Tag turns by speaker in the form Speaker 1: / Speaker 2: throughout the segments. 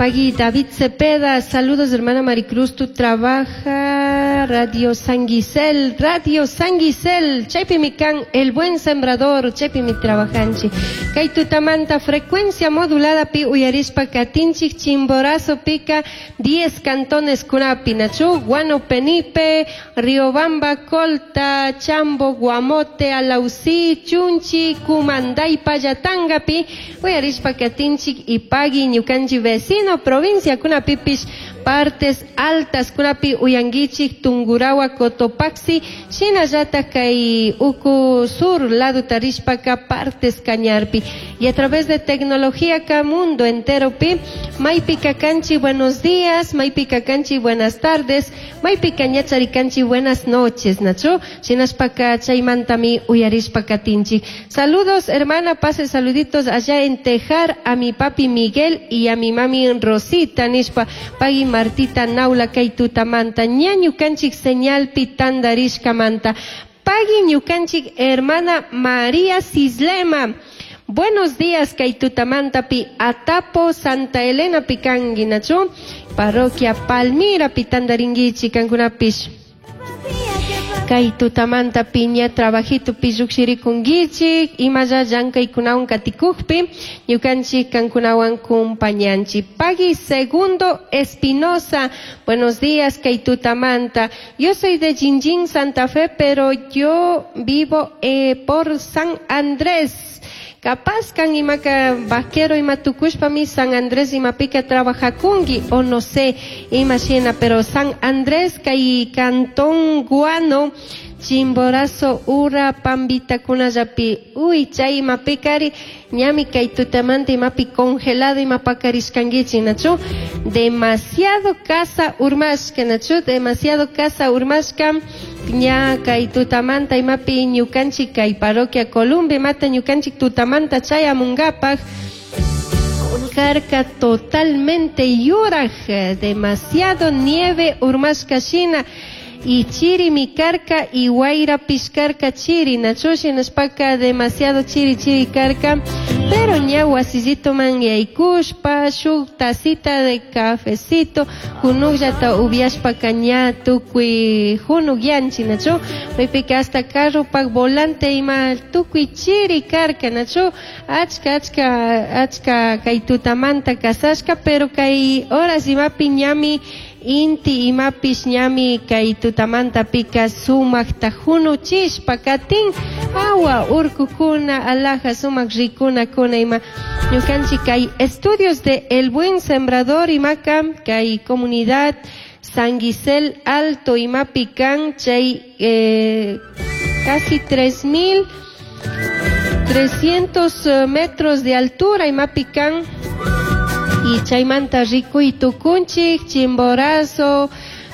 Speaker 1: Pagui David Cepeda, saludos hermana Maricruz, tu trabaja Radio San Gisel, Radio San Gisel, chaypimi kan El Buen Sembrador, chaypimi trabajanchik. Kay tutamanta frecuencia modulada pi uyarishpa katinchik Chimborazo pika 10 cantones kunapi, nachu, Guano Penipe, Riobamba, Colta, Chambo, Guamote, Alausí, Chunchi, Cumanday, Payatangapi, uyarishpa katinchik y pagui ñukanchik vecino provincia kunapipish partes altas kunapi uyanguichik Tungurahua, Cotopaxi, shinallata kay uku sur lado tarishpaka partes Cañarpi. Y a través de tecnología ka mundo entero pi, maypi kanchi buenos días, maypi kanchi buenas tardes, maypi ñachari buenas noches, nachu, shinashpaka chaymantami uyarishpa katinchik. Saludos hermana, pase saluditos allá en Tejar a mi papi Miguel y a mi mami Rosita, nishpa, pagui Martita Naula kay tutamanta, ña ñukanchik señalpi tandarishkamanta. Pagui ñukanchik hermana María Cislema. Buenos días, kay tutamanta pi Atapo Santa Elena pikangi, nachu, parroquia Palmira pi tandaringuichi kankunapish. Kay tutamanta piña trabajito pi llukshirikunguichik, imalla llankaykunawan katikukpi, ñukanchik kankunawan kumpañanchik. Pagui Segundo Espinosa, buenos días, kay tutamanta. Yo soy de Jinjin, Santa Fe, pero yo vivo por San Andrés. Capaz kan imaka vaquero ima tukushpami San Andrés imapika trabajakungi o no sé, imagina, pero San Andrés kay Cantón Guano, Chimborazo, Ura, Pambita, kunallapi, uy, chay imapikari, ñami kay tutamanta imapi congelado imapakarishkanguichi, nachu, demasiado casa urmashka, nachu, demasiado casa urmashka, ña kay tutamanta imapi ñukanchik kay parroquia Columbia mata ñukanchik tutamanta chayamungapak, karka totalmente yuraj, demasiado nieve urmashka shina, y chiri mi karka y guaira piscarka chiri, nachu shinashpaka demasiado chiri chiri karka, pero ña wasillito man yaykushpa, shuk tacita de cafecito, junukllata ubiashpaka ña tukuy junuk yanchi, nachu, maypika hasta carropak volante ima tukuy chiri karka, nachu, achka, achka, achka kay tutamanta kasashka, pero kay horas imapi ñami inti imapish ñami kay tutamanta pika sumakta junuchishpa katin awa urkukuna alaja sumak rikuna kuna ima ñukanchik kay estudios de El Buen Sembrador imaka kay comunidad San Gisel Alto imapi kan chay casi 3.300 metros de altura imapi kan y chaymanta rikuy tukunchik Chimborazo,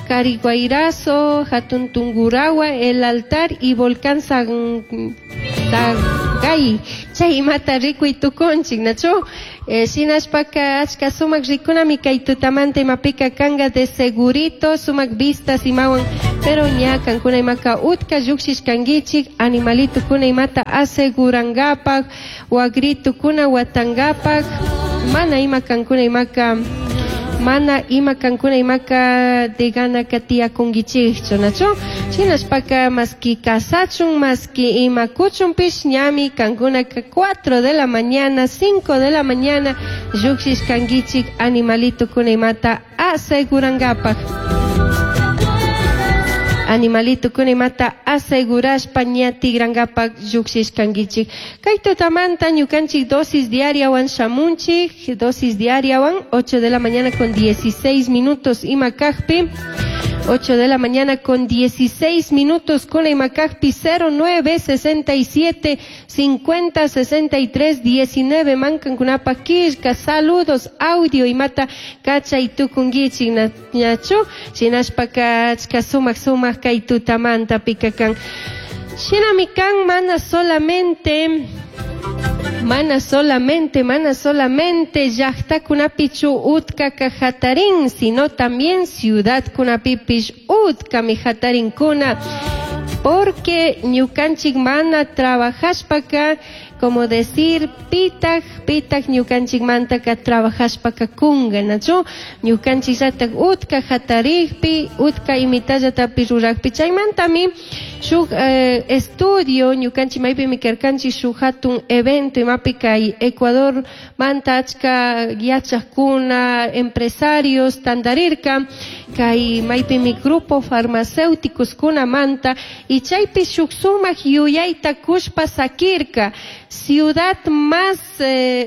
Speaker 1: Cariguairazo, Hatun Tungurahua, El Altar y Volcán Sangay. Chay imata rikuy tukunchik, nachu? Shinashpaka achka sumak rikunami kay tutamanta imapika kanga de segurito sumak vistas imawan, pero ña kankuna imaka utka llukshishkanguichik animalito kuna imata asegurangapak, wagritu kuna watangapak, mana ima kankuna imaka, mana ima kankuna imaka de gana katiyakunguichikchu, nachu? Shinashpaka maski kasachun, maski ima kuchunpish ñami kankunaka 4 de la mañana, 5 de la mañana llukshishkanguichik animalito kuna imata asegurangapak. Animalito kuna imata asegurashpa ña tigrangapak llukshishkanguichik. Kay tutamanta ñukanchik dosis diariawan shamunchik, dosis diariawan, 8 de la mañana con 16 minutos ima kajpi, 8 de la mañana con 16 minutos con ima kajpi, cero nueve, sesenta y siete, 50, 63, 19, mankan kunapa kishka, saludos, audio imata kacha y tukunguichik ñachu, shinashpaka achka sumak sumak kay tutamanta pikakan. Shinami kan mana solamente, mana solamente, mana solamente llaqta kunapichu utka kajatarin, sino también ciudad kunapipish utka mi jatarin kuna, porque ñukanchik mana trabajashpaka Como decir, pitaj, pitaj ñukanchikmantaka trabajashpaka kunga, nachu? Ñukanchikllatak utka hatarikpi, utka imitallatapi rurakpi. Chaymantami shuk estudio ñukanchik maypimi karkanchik shuk hatun evento imapi kay Ecuador manta achka yachakuna, empresarios tantarirka, kay maypimi grupo farmacéuticos kunamanta, y chaypi shuk sumak yuyayta kushpa sakirka. Ciudad más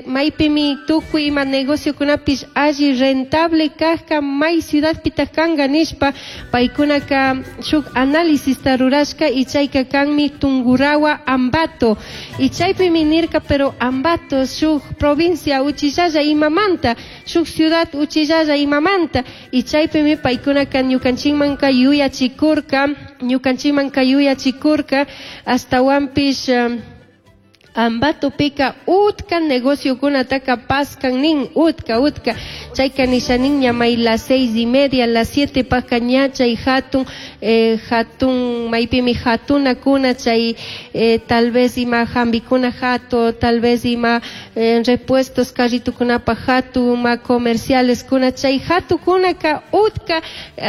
Speaker 1: maypimi tukuy ima negociokunapish alli rentable kajka may ciudadpitaj kanka nishpa paykunaka shuk análisista rurashka y chayka kanmi Tungurahua Ambato y chaypimi nirka, pero Ambato shuk provincia uchillalla imamanta, shuk ciudad uchillalla imamanta, y chaypimi paykunaka ñukanchikmanka yuyachikurka, ñukanchikmanka yuyachikurka astawanpish Ambatopika utka negociokunataka paskan nin, utka, utka. Chayka nisha nin ñamay las 6:30, las 7 paka ña chay hatun, hatun, maypimi hatunakuna chay, tal vez ima jambikuna hatu, tal vez ima, repuestos carritukunapa hatu, ima comerciales kuna, chay hatukunaka utka,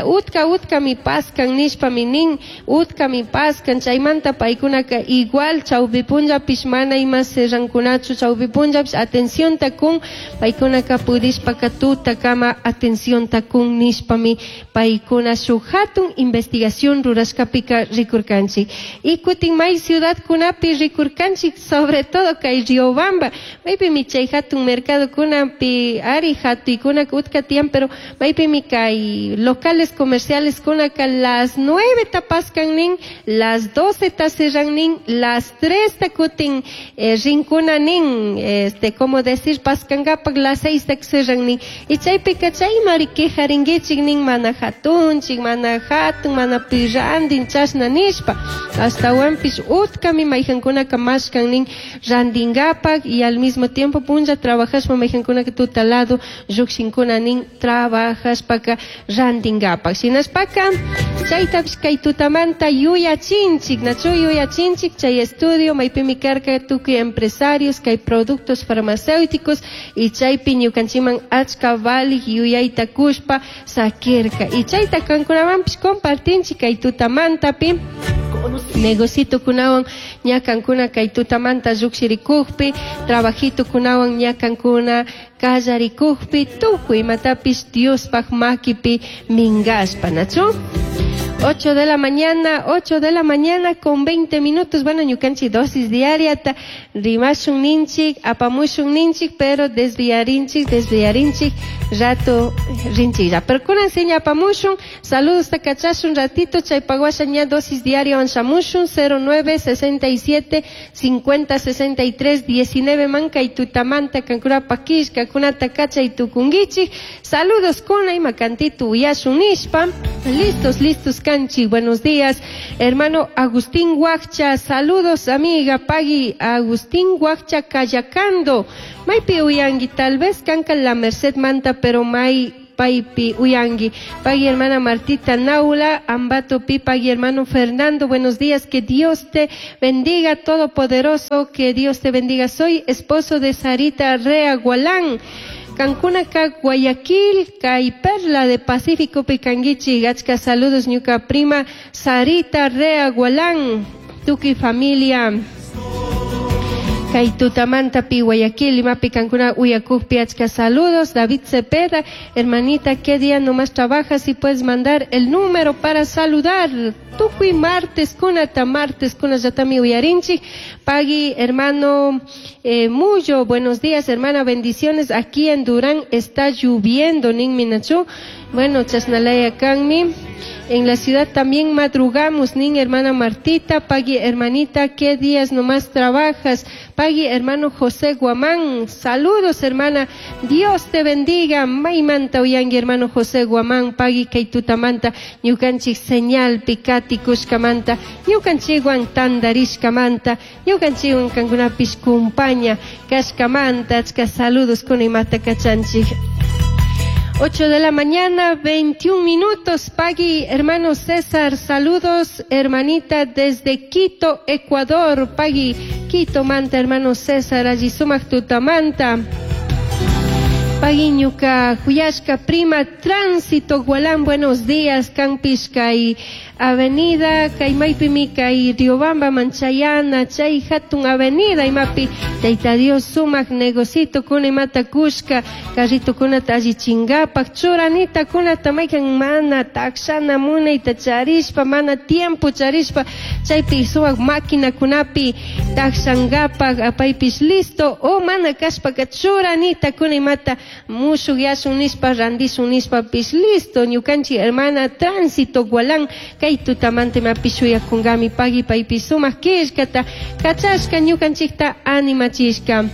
Speaker 1: utka, utka mi paskan nishpa mi nin, utka mi paskan, chaymanta paykunaka igual chawpi punllapish mana ima serrankunachu chawpi punllapish atención kun, paykunaka pudishpaka tutakama atención kun nishpami paykuna shuk hatun investigación rurashkapika rikurkanchik. Y kutin may ciudad kunapi rikurkanchik, sobre todo kay Riobamba, maypimi chay hatun mercado kunapi ari hatuykuna utka tiyan, pero maypimi kay locales comerciales kunaka las 9 tapaskan nin, las 12 ta cerran nin, las 3 ta kutin, rinkuna nin, como decir, paskangapak las 6 ta cerran nin. Y chaypika chaymari quejaringuichik nin, mana hatunchik, mana hatun, mana pirrandin, chashna nishpa. Astawanpish utkami mayjankunaka mashkan nin randingapak y al mismo tiempo punlla trabajashpa mayjankunaka tutalado llukshinkuna nin trabajashpaka randingapak. Shinashpaka chaytapish kay tutamanta yuyachinchik, nachu yuyachinchik chay estudio maypimi karka tukuy empresarios kay productos farmacéuticos y chaypi ñukanchikman achka valik yuyayta kushpa sakirka. Y chayta kankunamanpish compartinchik kay tutamantapi negocito kunawan ñakankuna kay tutamanta llukshirikukpi, trabajito kunawan ñakankuna kallarikukpi, tukuy imatapish Diospaj makipi minkashpa, nachu? 8 de la mañana, 8 de la mañana con 20 minutos. Bueno, ñukanchik dosis diaria ta rimashun ninchik, apamushun ninchik, pero desviarinchik, desviarinchik, rato rinchik ya. Pero kunan seña apamushun, saludos ta kachashun ratito, chaypaguasha ña dosis diaria anshamushun, cero nueve, sesenta y siete, cincuenta, sesenta y tres, diecinueve, manka y tutamanta, kankura pakish, kakunata kacha y tukungichik. Saludos kuna y makantitu uyashun nishpa. Listos, listos, Canchi, buenos días, hermano Agustín Huacha, saludos amiga Pagui, Agustín Huacha Cayacando, Maypi uyangi, tal vez canca la Merced Manta, pero may paipi uyangi, Pagui hermana Martita Naula, Ambato Pi, Pagui hermano Fernando, buenos días, que Dios te bendiga todopoderoso, que Dios te bendiga, soy esposo de Sarita Rea Gualán. Cancún acá, Guayaquil, Cay Perla de Pacífico, Picanguichi, Gachka, saludos, ñuca prima Sarita Rea Gualán, Tuki familia. Kay tutamanta pi Guayaquil, Lima pi Cancún, Uyacuj, Piachka, saludos. David Cepeda, hermanita, ¿qué día nomás trabajas? Y puedes mandar el número para saludar. Tukuy martes, kunata martes, kuna yatami uyarinchi. Pagui, hermano Muyo, buenos días, hermana, bendiciones. Aquí en Durán está lloviendo, nin minachu. Bueno, chasnalaya kanmi. En la ciudad también madrugamos, nin hermana Martita. Pagui, hermanita, ¿qué días nomás trabajas? Pagui, hermano José Guamán, saludos, hermana, Dios te bendiga. Maymanta uyangi, hermano José Guamán, pagui, kaitutamanta, ñukanchik señal, pikati, kushkamanta, ñukanchikwan tandarishkamanta, ñukanchikwan kankunapish kumpaña, kashkamanta, achka saludos kunimata kachanchik. 8 de la mañana, 21 minutos. Pagui, hermano César, saludos, hermanita, desde Quito, Ecuador. Pagui, Quitomanta, hermano César, alli sumak tutamanta. Pagui ñuka juyashka prima Tránsito Gualán, buenos días, kanpish kay avenida, kay maypimi kay Riobamba Manchayana, chay hatun avenida imapi Tayta Dios sumak negocito kuna imata kushka, carrito kunata allichingapak, churanita kunata maykan mana takshana munayta charishpa, mana tiempo charishpa, chaypi sumak máquina kunapi takshangapak apaypish listo, o mana kashpaka churanita kuna imata mushuk yashun nishpa randishun nishpapish listo, ñukanchik hermana Tránsito Gualán, kay tutamanta imapi shuyakunkami pagui paypi sumak killkata kachashka ñukanchikta animachishka.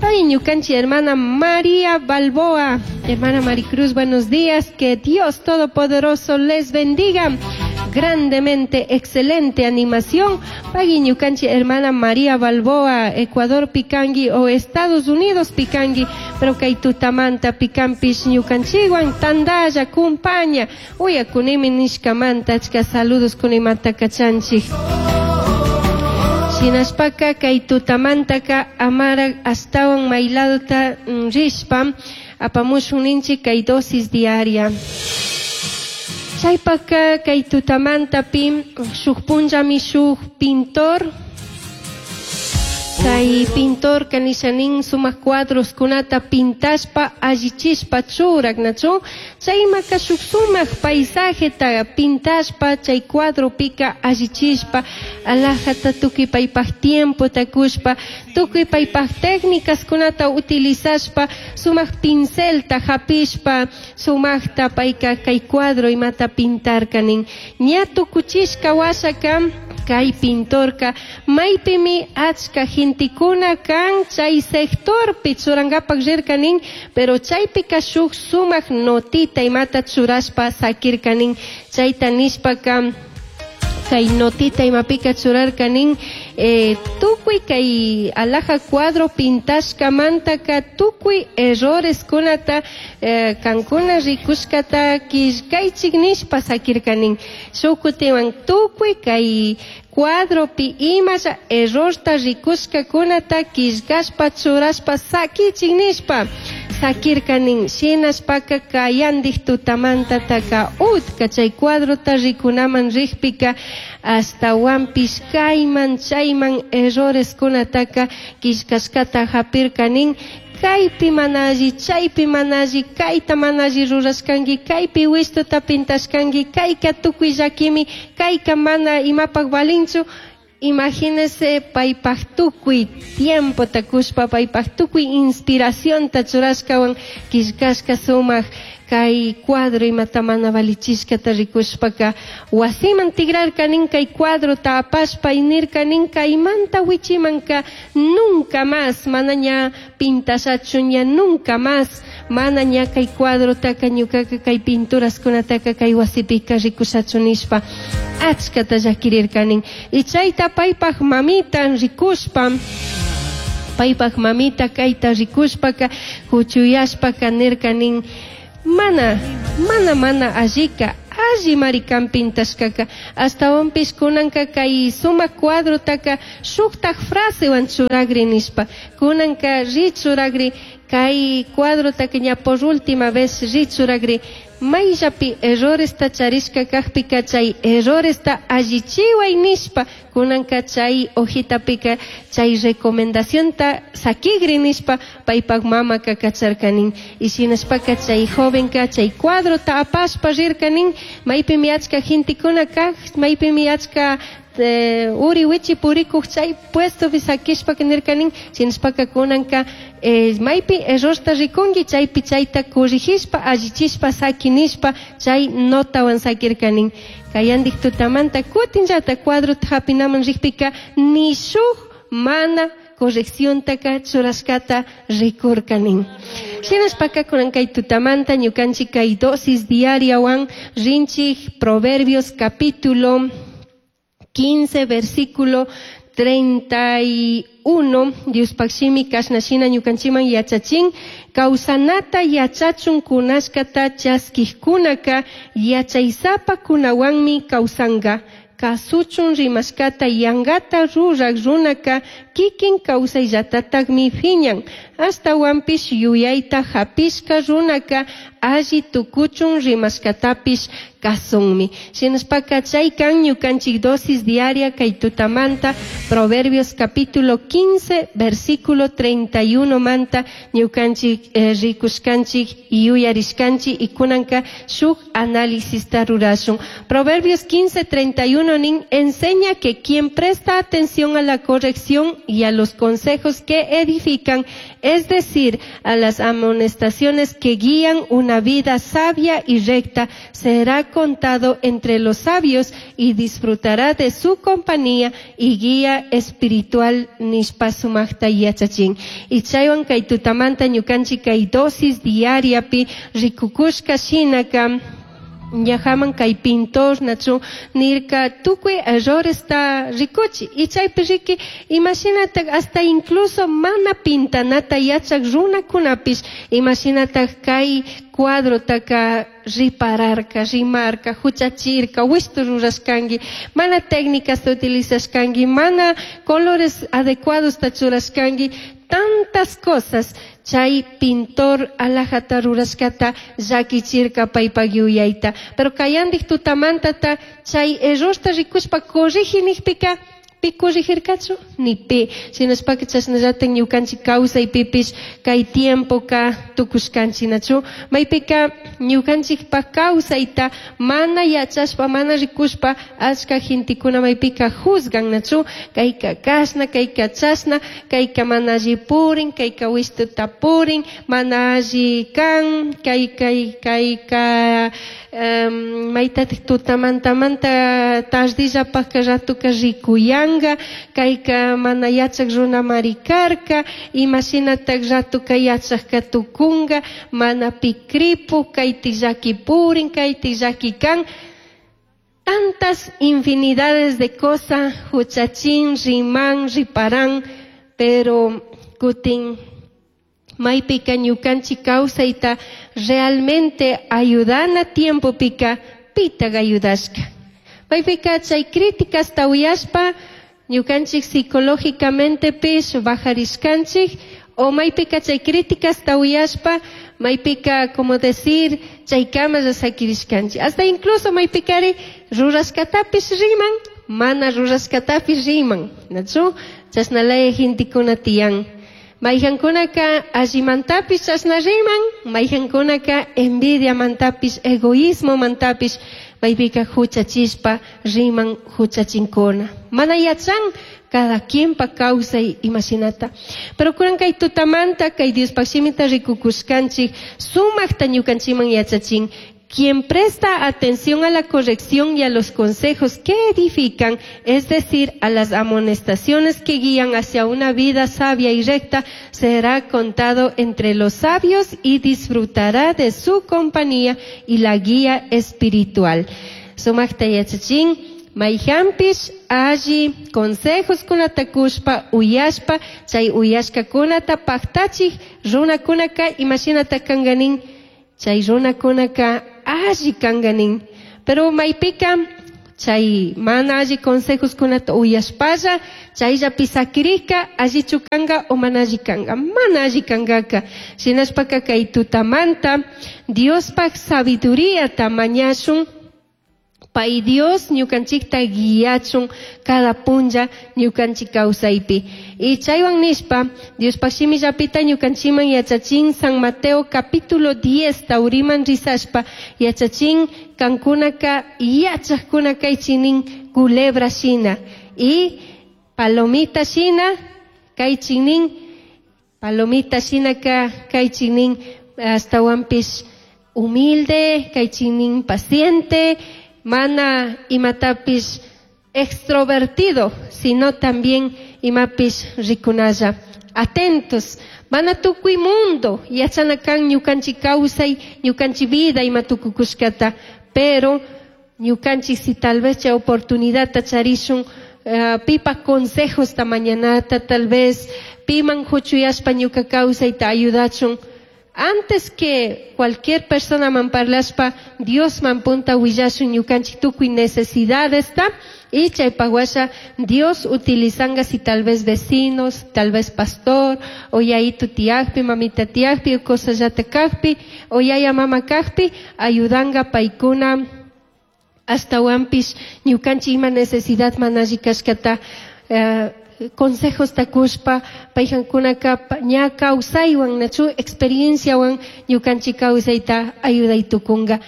Speaker 1: Ay, ñukanchik hermana María Balboa, hermana Maricruz, buenos días, que Dios Todopoderoso les bendiga grandemente, excelente animación. Pagui ñukanchik hermana María Balboa, Ecuador pikanki o Estados Unidos pikanki, pero kay tutamanta pikanpish ñukanchikwan tandalla kumpaña, uyakunimi nishkamanta achka saludos kunimanta kachanchik. Shinashpaka kay tutamantaka amara ashtawan mayladota rishpa apamushun ninchik kay dosis diaria. Chaypaka kay tutamantapi shuk punllami shuk pintor, kay pintor kanishanin sumak cuadros kunata pintashpa allichishpa churak, nachu? Chaymaka shuk sumak paisajeta pintashpa chay cuadropika allichishpa alajata tukuy paypak tiempota kushpa, tukuy paypak técnicas kunata utilizashpa sumak pincelta hapishpa sumakta payka kay cuadro imata pintarka nin. Ña tukuchishka washaka kay pintorka maypimi achka gentekuna kan chay sectorpi churankapak rirka nin, pero chaypika shuk sumak notita imata churashpa sakirka nin. Chayta nishpaka kay notita imapika churarka nin, tukuy kay alaja cuadro pintashkamantaka tukuy errores kunata kankuna rikushkata killkaychik nishpa sakirka nin. Shuk kutiwan tukuy kay cuadropi imasha errorta rikushkakunata killkashpa churashpa sakichik nishpa sakirka nin. Shinashpaka kayandik tutamantataka utka chay cuadrota rikunaman rikpika ashtawanpish kayman chayman errores kunataka killkashkata hapirka nin. Kaypi mana alli, chaypi mana alli, kayta mana alli rurashkanki, kaypi wishtuta pintashkanki, kayka tukuy llakimi, kayka mana imapak valinchu. Imagínese paypak tukuy tiempota kushpa, paypak tukuy inspiracionta churashkawan killkashka sumak kay cuadro imata mana valichishkata rikushpaka wasiman tigrarka nin kay cuadrota apashpa y nirka nin kaymanta wichimanka nunca más mana ña pintashachu, ña nunca más mana ña kay cuadrotaka ñukaka kay pinturaskunataka kay wasipika rikushachu nishpa achkata llakirirka nin. Y chayta paypak mamita rikushpa, paypak mamita kayta rikushpaka huchuyashpaka nirka nin, mana, mana, mana allika, alli marikan pintashkaka, ashtawanpish kunanka kay sumak cuadrotaka shuktak frasewan churagri nishpa, kunanka ri churagri kay cuadrotaka ña por última vez ri churagri, mayllapi erroresta charishka kakpika chay erroresta allichiway nishpa, kunanka chay hojitapika chay recomendacionta sakigri nishpa paypak mamaka kacharkanin. Y shinashpaka chay jovenka chay cuadrota apashpa rirkanin, maypimi achka gentekuna kak, maypimi achka uri wichi purikuq chay puestopi sakishpaka nirkanin, shinashpaka kunanka maypi errorta rikunki chaypi chayta corrigishpa allichishpa sakinishpa chay notawan sakirkanin. Kayandik tutamanta kutinllata cuadrota hapinaman rikpika ni shuk mana correcciontaka churashkata rikurkanin. Shinashpaka kunan kay tutamanta ñukanchik kay dosis diariawan rinchik Proverbios capítulo 15 versículo 31, Diospaq shimi kashna shina ñukanchikman yachachin, kawsanata yachachun kunashkata chaskikkunaka yachaysapa kunawanmi kawsanka. Casuchun rimashcata yangata ruraj runaca kikin kawsayllatatakmi phiñan. Ashtahuanpish yuyaita japishca runaca alli tucuchun rimashcatapish kasunmi. Shinashpaka chay kan ñukanchik dosis diaria kay tutamanta Proverbios capítulo 15 versículo 31 manta ñukanchik rikushkanchik yuyarishkanchik y kunanka shuk análisista rurashun. Proverbios 15, 31 nin enseña que quien presta atención a la corrección y a los consejos que edifican, es decir, a las amonestaciones que guían una vida sabia y recta, será contado entre los sabios y disfrutará de su compañía y guía espiritual nishpa sumajta yachachin. Y chaywan kay tutamanta ñukanchik kay dosis diariapi rikukushka shinaka ñajaman kay pintor nachu nirka tukuy erroresta rikuchi y chaypi riki imashinatak hasta incluso mana pintanata yachak runakunapish imashinatak kay cuadrotaka ripararka, rimarka, huchachirka, wishtu rurashkanki, mana técnicas utilizashkanki, mana colores adecuados churashkanki, tantas cosas chay pintor alajata rurashkata llakichirka paypak yuyayta. Pero kayandik tutamantata chay errorta rikushpa corrigi nijpika pi corrigirkachu ni pi. Shinashpaka chashnallatak ñukanchik kawsaypipish kay tiempoka tukushkanchik nachu. Maypika ñukanchikpak kawsayta mana yachashpa mana rikushpa achka gentekuna maypika juzgan nachu. Kayka kashna, kayka chashna, kayka mana alli purin, kayka wishtuta purin, mana alli kan, kay kay kayka maytatik tutamantamanta tardillapaka ratuka rikuyanka, kayka mana yachak runamari karka, imashinatak ratuka yachakka tukunka, mana pi kripuk, kayti llaki purin, kayti llaki kan. Tantas infinidades de cosas, huchachin, riman, riparan, pero kutin maypika ñukanchik kawsayta realmente ayudana tiempopika pitaq ayudashka. Maypika chay críticasta uyashpa ñukanchik psicológicamente pish bajarishkanchik o maypika chay críticasta uyashpa maypika como decir chaykama sakirishkanchik. Hasta incluso maypikari rurashkatapish riman, mana rurashkatapish riman. Nachu? Chashnalaya gentekuna tiyan. Mayhankunaka allimantapish chashna riman, mayhankunaka envidiamantapish, egoísmomantapish, maypika huchachishpa riman huchachinkuna. Mana yachan cada quien pa kawsay imashinata. Pero kunan kay tutamanta kay Diospaq shimita rikukushkanchik sumaqta ñukanchikman yachachin. Quien presta atención a la corrección y a los consejos que edifican, es decir, a las amonestaciones que guían hacia una vida sabia y recta, será contado entre los sabios y disfrutará de su compañía y la guía espiritual. Sumaqta yachachin, mayhanpish alli consejos kunata kushpa uyashpa, chay uyashkakunata paktachik runakunaka imashinata kanganin, chay runakunaka alli kanganin. Pero maypika chay mana alli consejos kunata uyashpalla, chayllapi sakirika allichu kanka o mana alli kanka, mana alli kankaka. Shinashpaka kay tutamanta Diospaq sabiduríata mañashun, pay Dios ñukanchikta guiachun cada punlla ñukanchik kawsaypi. Y chaywan nishpa Diospaq shimillapita ñukanchikman yachachin San Mateo capítulo 10 tawriman risashpa yachachin kankunaka yachakuna kaychinin culebra shina y palomita shina kaychinin palomita shinaka kaychinin astawanpish humilde kaychinin paciente mana imatapish extrovertido, sino también imapish rikunalla. Atentos, mana tukuy mundo yachana kan ñukanchik kawsay, ñukanchik vida ima tukukushkata, pero ñukanchik si tal vez chay oportunidadta charishun pipa consejosta mañanata tal vez piman huchuyashpa ñuka kawsayta ayudachun. Antes que cualquier persona man parlashpa Dios man punta willashun ñukanchik tukuy necesidadesta y chaypaq washa Dios utilizanga si tal vez vecinos, tal vez pastor, o yayitu tiyakpi, mamita tiyakpi, o cosallata kajpi, o yaya mama kajpi, ayudanga paykuna ashtawanpish ñukanchik ima necesidad mana alli kashkata consejosta kushpa paykankunaka ña kawsaywan nachu experienciawan ñukanchik kawsayta ayuday tukunga.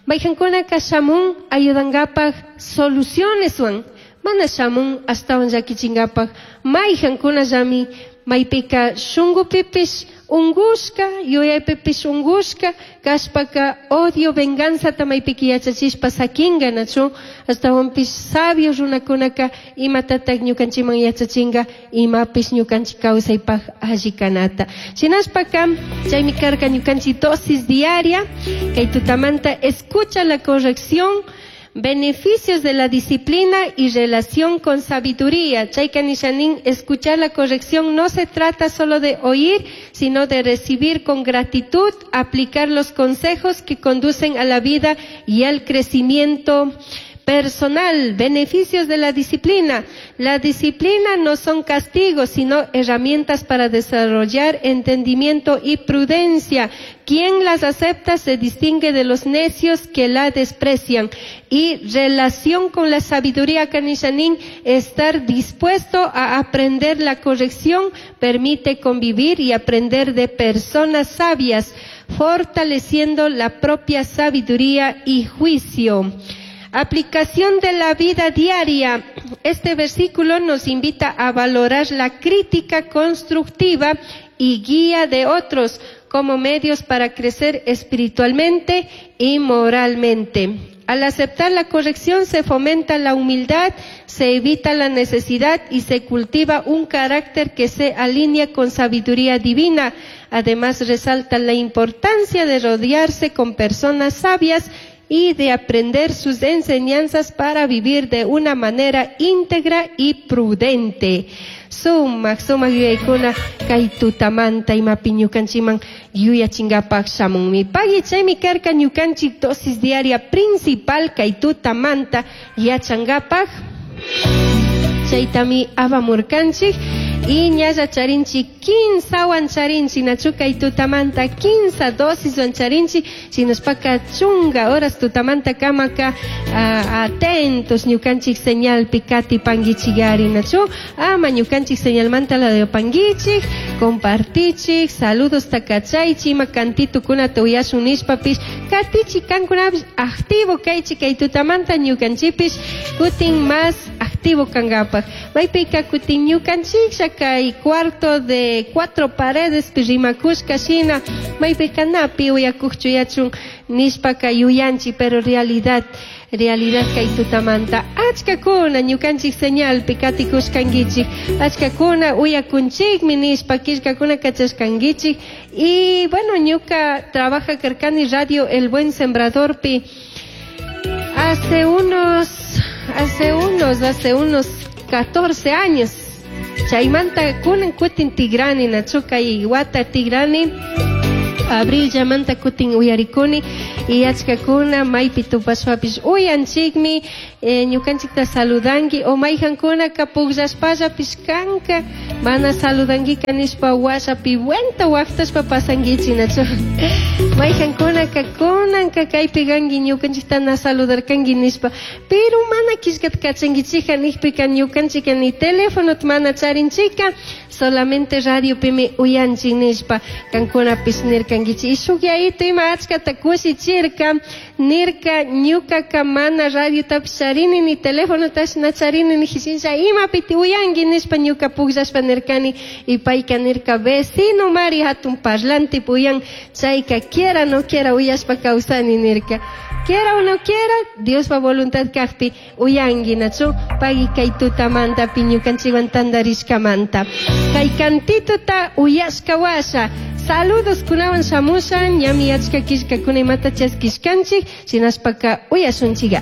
Speaker 1: Maykankunaka shamun ayudankapaj solucioneswan mana shamun ashtawan llakichinkapaj maykankunallami maypika shunkupipish unkushka yuyaypipish unkushka kashpaka odio venganzata maypika yachachishpa sakinga nachu ashtawanpish sabio runakunaka imatatak ñukanchikman yachachinga imapish ñukanchik kawsaypaj alli kanata. Shinashpaka chaymi karka ñukanchik dosis diaria kay tutamanta escucha la corrección, beneficios de la disciplina y relación con sabiduría. Chayka nishanin, escuchar la corrección no se trata solo de oír, sino de recibir con gratitud, aplicar los consejos que conducen a la vida y al crecimiento personal. Beneficios de la disciplina. La disciplina no son castigos, sino herramientas para desarrollar entendimiento y prudencia. Quien las acepta se distingue de los necios que la desprecian. Y relación con la sabiduría, Kanishanin, estar dispuesto a aprender la corrección permite convivir y aprender de personas sabias, fortaleciendo la propia sabiduría y juicio. Aplicación de la vida diaria. Este versículo nos invita a valorar la crítica constructiva y guía de otros como medios para crecer espiritualmente y moralmente. Al aceptar la corrección se fomenta la humildad, se evita la necesidad y se cultiva un carácter que se alinea con sabiduría divina. Además, resalta la importancia de rodearse con personas sabias y de aprender sus enseñanzas para vivir de una manera íntegra y prudente. Sumak, sumak yuyaykuna kay tutamanta imapi ñukanchikman yuyachinkapak shamunmi. Pagui chaymi karka ñukanchik dosis diaria principal kay tutamanta yachankapak. Chaytami apamurkanchik. Y ñalla charinchi kinsawan charinchi nachu kay tutamanta kinsa dosiswan charinchi shinashpaka chunga horas tutamanta kamaka atentos ñukanchik señalpi katipanguichigari nachu ama ñukanchik señalmanta la panguichik compartichik saludos takachaychi ima cantitukunata uyashun nishpapish katichi kankunapish activo kaychi kay tutamanta ñukanchipish kutin más activo kankapak maypika kutin ñukanchik kay cuarto de 4 paredes rimakushka shina maypika napi uyakuqchu yachun nishpaka yuyanchi pero realidad kay tutamanta achkakuna ñukanchik señalpi katikushkankichik achkakuna uyakunchikmi nishpa killkakuna kachashkankichik. Y bueno, ñuka trabaja karkani radio El Buen Sembradorpi hace unos 14 años. Chaymanta kunan kutin tigrani nachu kay wata tigrani abril llamanta kutin uyarikuni y achkakuna maypi tupashpapish uyanchikmi ñukanchikta saludanki o mayjankunaka pukllashpallapish kanka mana saludankika nishpa washapi buenta waqtashpa pasankichik nachu mayjankunaka kunanka kaypi kanki ñukanchikta na saludarkanki nishpa pero mana killkata kachankichikka nijpika ñukanchika ni telefonota mana charinchika solamente radiopimi uyanchik nishpa kankunapish nirkankichik y shuk yayitu ima achkata kushichirka nirka ñukaka mana radiotapish charini ni telefonotapish na charini nijishinlla imapiti uyanki nishpa ñuka pukllashpa nirkani y payka nirka vecino mari hatun parlante uyan chayka quiera no quiera uyashpa kawsani nirka quiera o no quiera Diospa voluntad kajpi uyanki nachu pagui kay tutamantapi ñukanchikwan tantarishkamanta kay cantituta uyashka washa saludos kunawan shamushan ñami achka killkakuna imata chaskishkanchik shinashpaka uyashunchik.